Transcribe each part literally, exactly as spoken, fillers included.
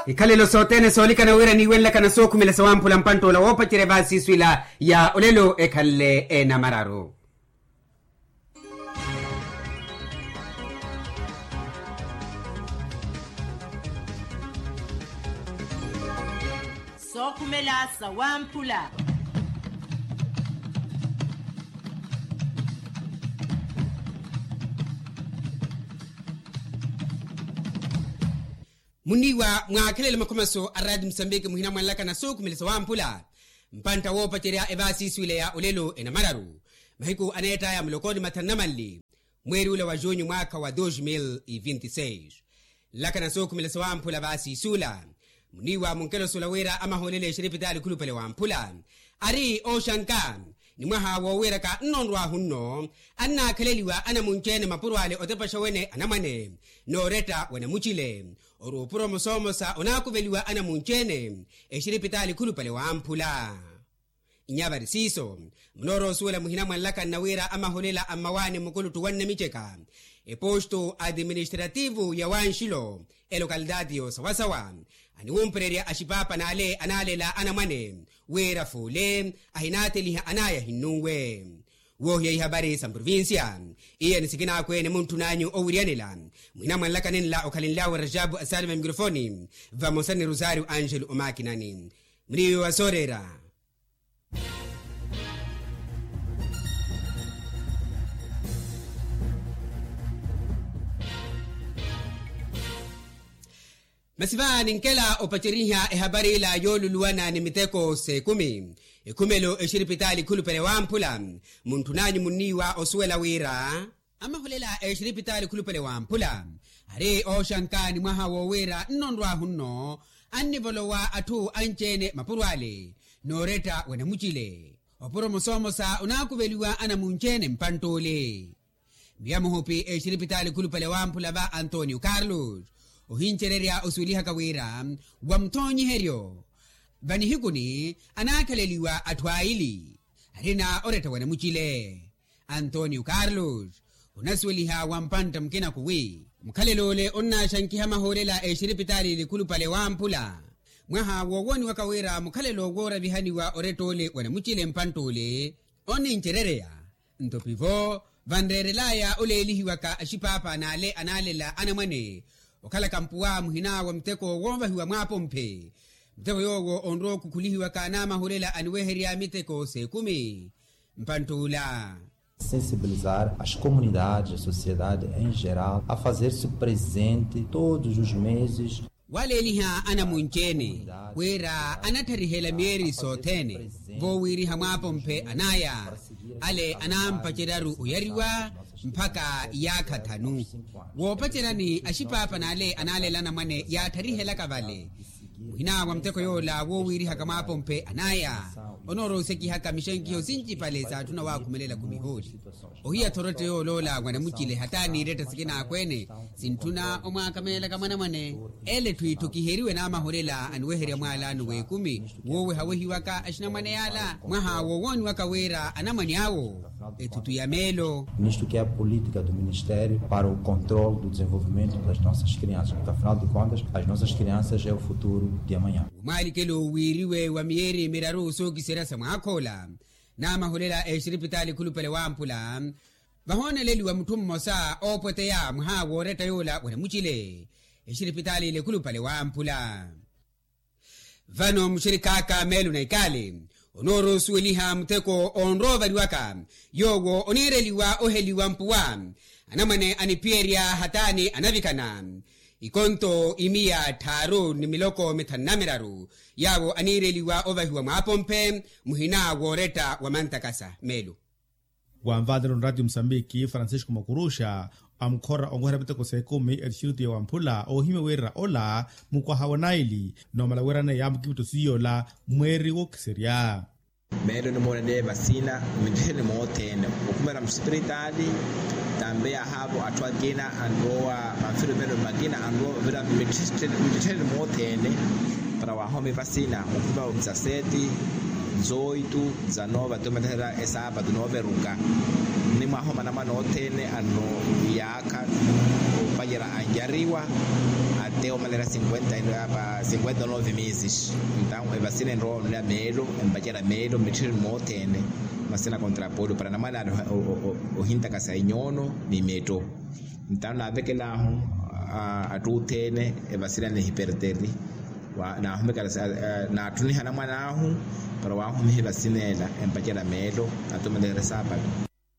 Ikhalelo sothene soolikana wira niiwenlakana sookhumela sawamphula mpantt'ola woopacerya evaasi isu ila ya olelo ekhanle enamararu. Sookhumela sawamphula. Muniiwa mwaakhelele makhomaso a raati musambiki muhina mwanlakana sookhumela sawamphula. Mpantta woopacerya evaasi isu ile ya olelo enamararu mahiku aneett'aya muloko ni mathanu na manli, mweeri ula wa junyu mwaakha wa dos mil e vinte e seis. Nlakana sookhumela sawamphula vaasi isula. Muniiwa munkelosola wira amahoolela exiripitaali khulupale wamphula ari ooxanka ni mwaha woowiiraka nnonrwahu nno annaakhaleliwa anamunci-ene mapuro ale otepaxa wene anamwane nooretta wene mucile ori opuro mosoomosa onaakuveliwa anamunci-ene exiripitaali khulupale wamphula. Nyavari siiso munoorosuwela muhina mwanlakanna wira amaholela a mmawaani mmukuluttu wa nnamiceka eposto administrativu ya wanxilo elokalitaati yoosawasawa aniwumpererya axipaapa n'ale anaalela anamwane wira fuule ahinaateliha anaya ahinnunwe. Woohiya ihapari sa mprovincia iya ni sikinaakwene muntthun'anyu owiryanela muhina mwanlakanenla okhalenlyawe rajabu asalima mikrofoni vamosa ni rosario angelo omakinani. Muriiwe wa sooreera. Masi va ninkela opaceriha ehapari ila yooluluwana ni miteko s'ekumi ekhumelo exiripitaali khulupale wamphula muntthun'anyu munniiwa osuwela wira amahulela exiripitaali khulupale wamphula ari ooxanka ni mwaha woowiira nnonrwahu nno annivolowa atthu anci-ene mapuro ale nooretta wene mucile opuro mosoomosa onaakuveliwa anamunci-ene mpantt'ule. Miya muhupi exiripitaali khulupale wamphula va antonio carlos ohincererya osuwelihaka wira wa muthoonyiheryo vanihikuni anaakhaleliwa atthu aili arina oretta wene mucile. Antonio carlos onasuweliha wa mpantta mukina khuwi mukhalelo ole onnaaxankiha mahoolela exiripitaali likhulupale wamphula mwaha woowoniwaka wira mukhalelo wooravihaniwa oretta ole wene mucile mpantt'ule onnincerereya. Nto pivo vanreerelaya oleelihiwaka axipaapa n'ale anaalela anamwane okhalaka mpuwa muhina wa muteko woovahiwa mwaapomphe muteko yoowo onrowa okhukhulihiwaka n'amahulela aniweherya miteko s'ekumi. Mpantt'ula sensibilizar as comunidades a sociedade em geral a fazer-se presente todos os meses. Waleeliha anamunci-ene wira anatharihela miyeeri sothene voowiiriha mwaapomphe anaya ale anaampaceryaru oyariwa mpakha iyaakha thanu woopaceryani axipaapa n'ale anaalela anamwane yaatharihelaka vale muhina wa muteko yoola woowiirihaka mwaapomphe anaya onoorosekihaka mixenkiho sincipale saatthuna waakhumelela khumihooli. Ohiya-tho oretta yooloola mwana mucile hata niiretta sikinaakhweene sintthuna omwaakameelaka mwanamwane ele etthu itthu kiheriwe n'amaholela aniweherya mwaalaano w'ekumi woowehawehiwaka axinamwane yaala mwaha woowooniwaka wira anamwane awo ethutu ya meelo. Nisto que é a política do ministério para o controle do desenvolvimento das nossas crianças porque afinal de contas as nossas crianças é o futuro de amanhã. Omwaalikelo wiiriwe wa miyeeri miraru sookiserya sa mwaakhoola n'amaholela exiripitaali ekhulupale wamphula vahooneleliwa mutthu mmosa oopweteya mwaha wooretta yoola wanamucile exiripitaali lekhulupale wamphula. Vano muxirikhaaka meelo na ikaali onoorosuweliha mutheko onroovariwaka yoowo oniireliwa oheliwa mpuwa anamwane aniphiyerya hataani anavikana ikonto imiya tthaaru ni miloko mithanu na miraru yaawo aniireliwa ovahiwa mwaapomphe muhina wooretta wa mantakasa meelo. Wanvaanela onraatiyo musambiki francisco makuruxa amukhora onweherya miteko s'ekumi etixirutu ya wamphula oohimya wira ola mukwaha wa naili noomala wira anayi yaamukipitto siiy'ola mweeri wookiserya. Meelo nimoolele vasina minttheni moothene okhumela musipiritaali tambe yahaavo atthu akina anrowa manfirumelo makina anrowa ovira minttheni moothene para wahomi vasina mukhumela omisaseeti Zoitu za noova tumatehera esaapatu nooveruka. Ni mwahoma anamwane othene anoyaakha opacerya anyariwa ate omalera cinquenta nove meses. Entaw evasina enrowa onira meelo empacerya meelo mitthironi moothene. Masina kontra polio para anamwane ale ohintakasa inyoono ni metto. Entaw naavekel'ahu atthu othene evasina nihiperteri. Naahumekela naatthuniha anamwan'ahu para waahumiha evasina ela empacerya meelo. Atumelehera esaapatu.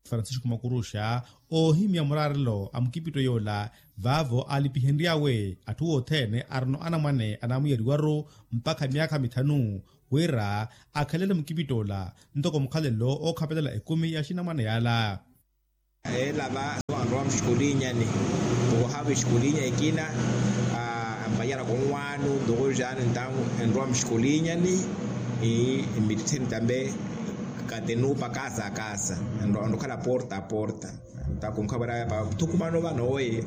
Francisco makuruxa oohimya muraarelo a mukipitto yoola vaavo aalipihenry'awe atthu othene arino anamwane anaamuyariwaru mpakha myaakha mithanu wira akhalele mukipitt'ola ntoko mukhalelo ookhapelela ekumi ya axinamwane yaala. Ela va anrowa muxikulinyani. Ntuku ohaava exikulinya ekina ampanyara konwaanu ntuku jaani ntawu enrowa muxikulinyani. Mmittettheni tambe katenupa kasa kasa. Anrokhala porta porta. Ntakunkhavara yapa thukumano vano oye.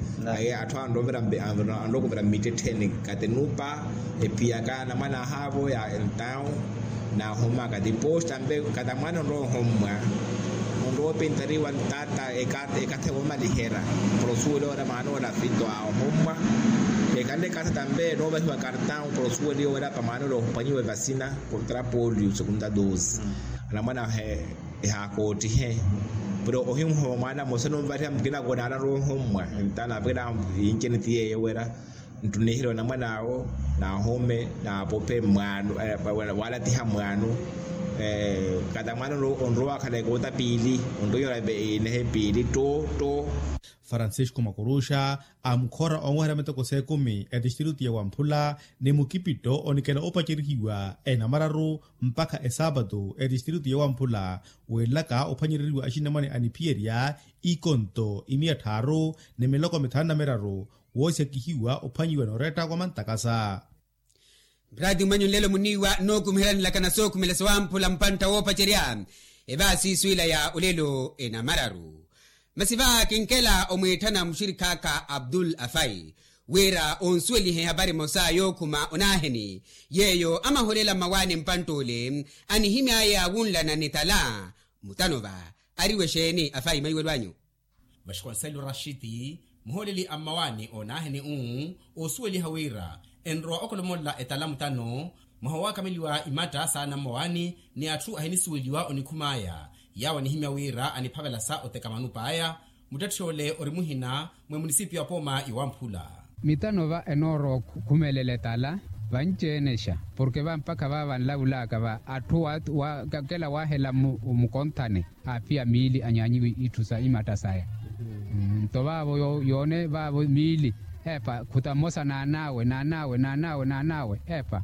Atthu anrokuvira mmittettheni katenupa. Ephiyaka anamwane ahaavo ya entawu. Naahomaka tiposta mpe katamwana onrowa ohommwa. Onrowa opintariwa ntata ekatha yoomaliherya. Para osuweliwa wira maana ola fito a ohommwa. Ekhala ekatha tampe noovahiwa kartawu para osuweliwa wira pa maana ola ophwanyiwa evasina. Kontra polio segunda dosi. Anamwana ahe ehaakottihe. Pero ohimuhoma mwana mose nomvariha mukina kona anarwa ohommwa. Ntana avekela inceneti yeyo wira nttunihile onamwan'awo. Naahome naapophe mwaanu. Waalatiha mwaanu. Kata mwaanu onrowa wakhala ekoota piili. Onrowa inehe piili tto tto. Francisco makuruxa amukhora onweherya miteko s'ekumi etistiritu ya wamphula ni mukipitto onikela opacerihiwa enamararu mpakha esaapatu etistiritu ya wamphula. Weelaka ophwanyereriwa axinamwane aniphiyerya ikonto imiya tthaaru ni miloko mithanu na miraru. Woosihakihiwa ophwanyiwa nooreetta wa mantakasa. Mprati mwanyu nlelo muniiwa nookumihelanelaka na sookhumela sawamphula mpantta woopacerya evaasi swiila ya olelo enamararu. Masi va kinkela omwiitthana muxirikh'aka abdul afai wira onsuwelihe ehapari emosa yookhuma onaaheni yeeyo amaholela mmawaani mpantt'ole anihimy'aya wunlana ni tala. Mutano va ariwe xeeni afai maiwelo anyu? Vaxikonsello raxiti muhooleli a mmawaani oonaaheni uu oosuweliha wira enrowa okholomolela etala mutano mwaha owaakameliwa imatta saana mmawaani ni atthu ahinisuweliwa onikhum'aya yaawo anihimya wira aniphavela sa oteka manup'aya. Muttetthi ole ori muhina mwe munisipiyu apooma yowamphula. Mitano va enoorowa okhumelela etala vanci-enexa porke va mpakha va vanlavulaka va atthu wakela waahela mukonthane aaphiya miili anyaanyiwe itthu sa imatta saya. Nto vaavo yoone vaavo miili epa khuta mmosa naan'awe naan'awe naan'awe naan'awe epa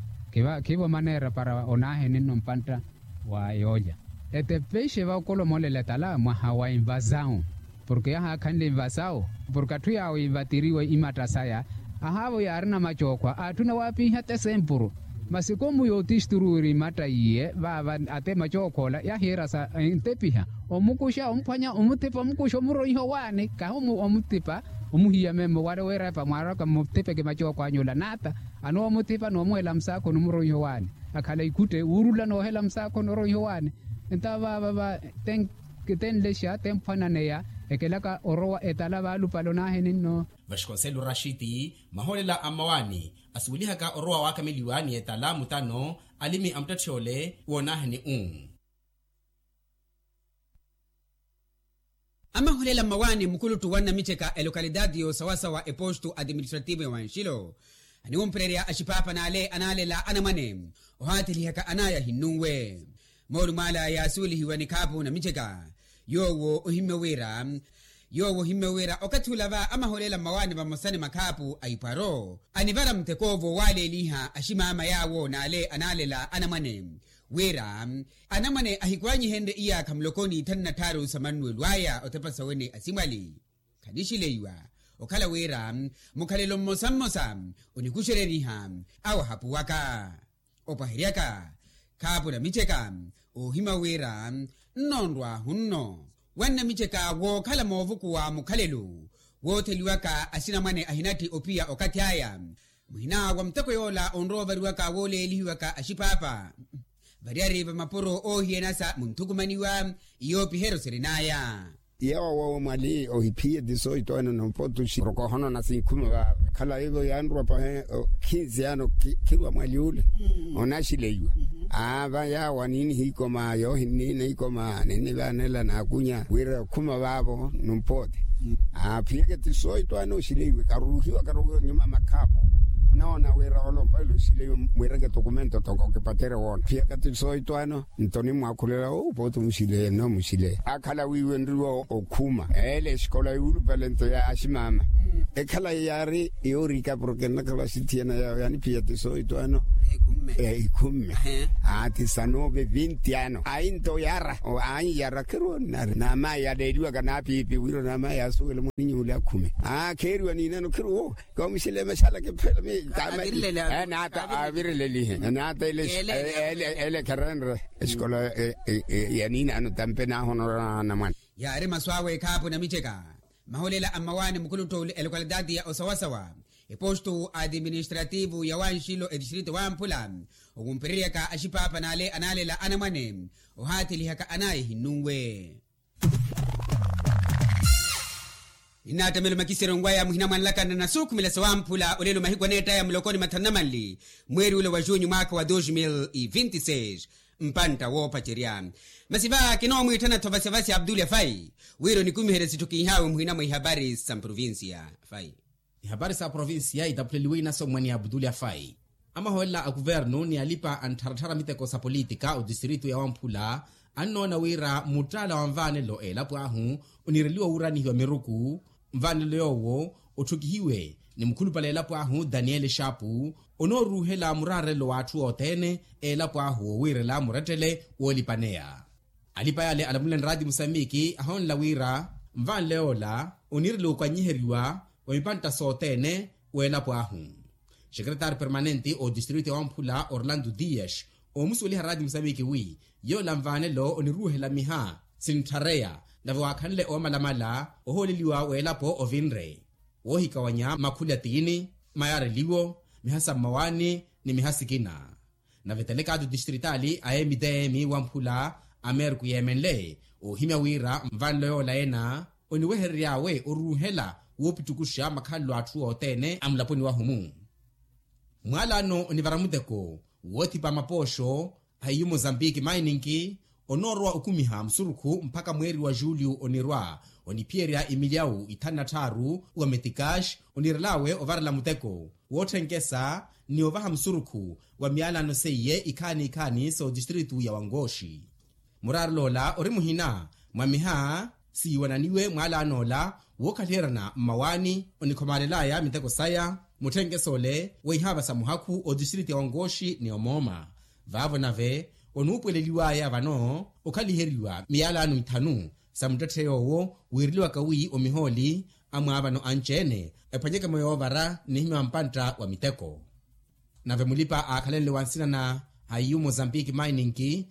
khivo maneera para onaaheni nno mpantta wa yoolya. Etepexe va okolomolela etala mwaha wa invasawu porke yahaakhanle invasawu porke atthu yaawo invatiriwe imatta saya. Ahaavo yaarina macookhwa aatthuna waapinha tesempuru masi komu yootisturu wira imatta iye vaava ate macookhwa ola yahiira sa entepiha omukuxa omphwanya omuthipa omukuxa omuroiha owaani kahi omuthipa omuhiya memmo wale wira epa mwaaraka mmuthipeke macookhwa anyu ola naata anoomuthipa noomuhela musaakho nomuroiha owaani akhala ikhutte wuurula noohela musaakho noroiha owaani. Entawo vaava va tenlexa temphwananeya ekelaka orowa etala vaalupale onaaheni nno. Vaxikonsello raxiti mahoolela a mmawaani asuwelihaka orowa waakameliwa ni etala mutano alimi a muttetthi ole woonaaheni uu. Amaholela mmawaani mukuluttu wa nnamiceka elocalidade y'osawasawa epostu administrativo ya wanxilo aniwumpererya axipaapa n'ale anaalela anamwane ohaathilihaka anaya ahinnunwe. Moolumo ala yaasuwelihiwa ni khaapu namiceka yoowo ohimmya wira yoowo ohimmya wira okathi ula va amaholela mmawaani vamosa ni makhaapu a ipwaro anivara mutekoovo waaleeliha aximaama yaawo n'ale anaalela anamwane wira anamwane ahikwanyihenrye iyaakha muloko n'ithanu na tthaaru sa mannuwelo aya othepa sawene asimwali. Khanixileiwa okhala wira mukhalelo mmosa mmosa onikuxereriha awo ahapuwaka opwaheryaka khaapu namiceka oohima wira nnoonrw'ahu nno wa nnamiceka wookhala moovukuwa mukhalelo wootheliwaka axinamwane ahinatthi ophiya okathi aya muhina wa muteko yoola onrowa ovariwaka wooleelihiwaka axipaapa. Variyari va mapuro oohiyanasa munthukumaniwa. Iyoopiheryo sirin'aya. Yeewo mwali ohiphiye tisoito eno nompotuxi oroko ohonona sinkhuma va khala ivo yanruwa pahe. Khinsi yano khirwa mwali ule onaxileiwa. Aava yaawo aninihiikoma yoohinniina ikoma ninnivaanela naakunya wira okhuma vaavo. Nompoote aaphiyeke tisoito ene oxileiwe karuruhiwa karuruhiwa nyuma makhaapo. Onaona wira olompaile oxileiwe mwireke tokumento toko kipatere woona phiyeke tisoito ene. Nto onimwaakhulela owo pooti omuxileya nno omuxileya akhala wiiwenriwa okhuma ele exikola yuulupale nto ya aximama. Ekhala yaari yoorika porke nnakhala axithiyana yawe yaniphiya tisoito ano. Ikhumme. Ati sanove vinti ano ainto yara. Aanyiyara khiroonnari naamayi yaleeliwaka naapiipi wira naamayi yaasuwela mwaninyuuli akhume. Kheeriwa niinano khirowo kamuxile maxala kiphela mi. Naata avirilelihe naata ele kherenre. Exikola ya niinano tampe naahonorana mwana. Yaari masu awe ekhaapu namiceka. Mahulela a mmawaani mukhuluttuuli elokalitaati ya osawasawa epostu adiministrativu ya wanxilo etistrito wamphula. Okumpireryaka axipaapa n'ale anaalela anamwane ohaathilihaka anaaye ehinnunwe. Ninnaattamela omakiseryo nwaya muhina mwanlakana na suukhumela sawamphula olelo mahiku aneettaya mulokoni mathanu na manli mweeri ule wa junyu mwaakha wa dos mil e vinti seis. Mpantta woopacerya masi va kinoomwiittana-tho vasivasi abdul afai wira onikumiherye sitthu kinhaawe muhina mwa ihapari sa mprovincia. Afai ihapari sa provincia itaphuleliwe inaso mwani abdul afai. Amahoolela a kuvernu ni alipa a nttharattharya miteko sa politika otistritu ya wamphula annoona wira muttaala wa nvaanelo eelapo ahu onireliwa wuuranihiwa miruku. Nvaanelo yoowo otthukihiwe ni mukhulupale eelapo ahu daniel xaapu onooruuhela muraarelo w'atthu othene eelapo ahu woowiirela murettele woolipaneya. Alipa yale alamuleni raati musambiki ahonla wira nvanle yoola oniirela okanyiheriwa wa mipantta sothene w'elapo ahu. Xekeretari permanente otistritu ya wamphula orlando dias oomusuweliha raati musambiki wi yoola nvanelo oniruuhela miha sinthareya nave waakhanle oomalamala ohooleliwa w'elapo ovinre woohikawanya makhuli a tiini mayareliwo miha sa mmawaani ni miha sikina. Nave telekaati otistritali a mtm wamphula amerku yeemenle oohimya wira nvanlo yoola ena oniweherery'awe oruuhela woopittukuxa makhalelo a atthu othene a mulaponi wahu-mu. Mwaalano onivara muteko woothipa mapooxo a hiyu mozambique mining onoorowa okumiha musurukhu mpakha mweeri wa julio onirwa oniphiyerya imilyawu ithanu na tthaaru wa metikax onirel'awe ovarela muteko wootthenkhesa ni ovaha musurukhu wa miyalano seiye ikhaani ikhaani sa otistritu ya wankooxi. Muraarelo ola ori muhina mwa miha siiwananiwe mwaalano ola wookhaliheyerana mmawaani onikhomaalel'aya miteko saya mutthenkhesa ole weihaava sa muhakhu otistritu ya wankooxi ni omooma. Vaavo nave onuupuweleliw'aya vano okhaliheriwa miyalano ithanu sa muttetthe yoowo wiireliwaka wi omihooli a mwaavano anci-ene ephwanyeke-mo yoovara nnihimya wa mpantta wa miteko. Nave mulipa aakhalenle wa nsina na hayiyu mozambique mining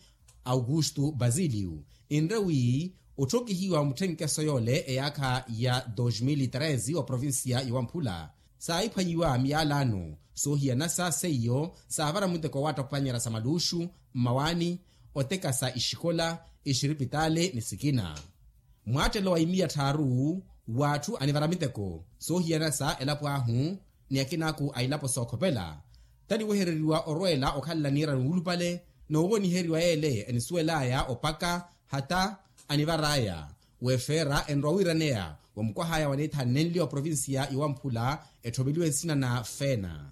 augusto basilio inre wi otthokihiwa wa mutthenkeso yoole eyaakha ya dos mil treze wa provincia ya wamphula saahiphwanyiwa miyalano soohiyanasa seiyo saavara muteko waattakhupanyerya sa maluuxu mmawaani otekasa ixikola ixiripitaali ni sikina. Mwaattelo wa imiya tthaaru w'atthu anivara miteko soohiyanasa elapo ahu ni akinaaku a ilapo sookhopela taniwehereriwa orweela okhalela niirani wuulupale noowoniheriwa yeele enisuwel'aya opaka hata anivar'aya wefeera enrowa wiiraneya wa mukwah'aya waneethanenliwa provincia ya wamphula etthomeliwe nsina na feena.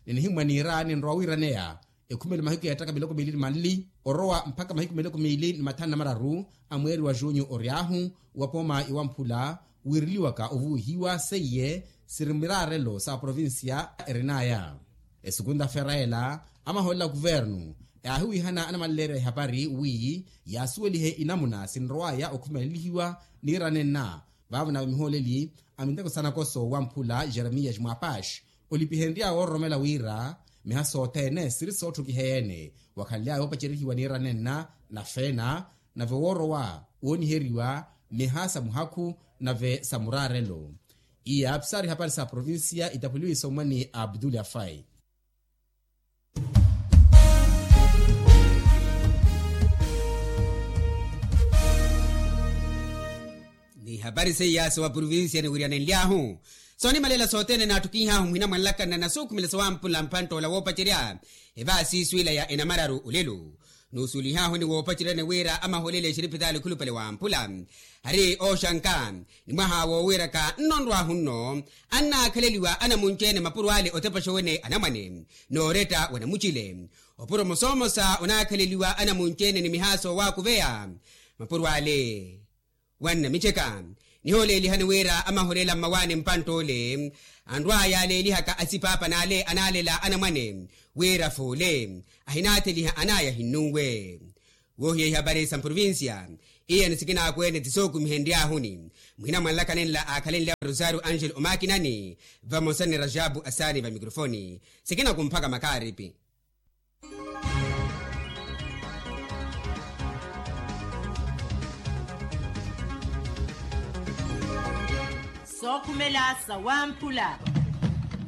Ninihimwa niira ninrowa wiiraneya ekhumelo mahiku yeettaka miloko miili ni manli orowa mpakha mahiku miloko miili ni mathanu na mararu a mweeri wa junyu ory'ahu wa pooma ya wamphula wiireliwaka ovuwihiwa seiye siri miraarelo sa provincia erin'aya. Esukunta feera ela amahoolela kuvernu yaahiwihana anamalilerya ihapari wi yaasuwelihe inamuna sinrow'aya okhumelelihiwa niira nenna vaavo nave mihooleli a miteko sa nakoso wamphula jeremias mwapax olipihenry'awe ororomela wira miha sothene siri sootthukiheya-ene wakhanly'awe oopacerihiwa niira nenna na feena nave woorowa wooniheriwa miha sa muhakhu nave sa muraarelo. Iya pisari hapari sa provincia itaphuliwe isommwani abdul afai. Ni hapari seiya sa wa provincia niwiryanenly'ahu, soonimalela sothene naattukinh'ahu muhina mwanlakana na nasuukhumela sa wampula mpanttola woopacerya evaasiiswiila ya enamararu olelo. Nuusuwelih'ahu ni woopaceryani wira amaholela exiripitaali khulupale wampula, hari ooxanka ni mwaha woowiiraka nnonrw'ahu nno, annaakhaleliwa anamunci-ene mapuro ale otepaxa owene anamwane, nooretta wa namucile. Opuro mosomosa onaakhaleliwa anamunci-ene ni mihaaso waakuveya mapuro ale wa nnamittheka. Nihooleelihani wira amaholela mmawaani mpanttoole anrw'aya aleelihaka asipaapa n'ale anaalela anamwane, wira foole ahinaatheliha an'aya ahinnunwe. Woohiya ihapari sa mprovincia, iyani sikinaakweene ti sookumihenry'ahuni muhina mwanlakana enla aakhalenle wa rosario angel omakinani, vamosa ni rajabu asaani va mikrofoni. Sikinakumphaka makaaripi. Sookhumela sa wamphula.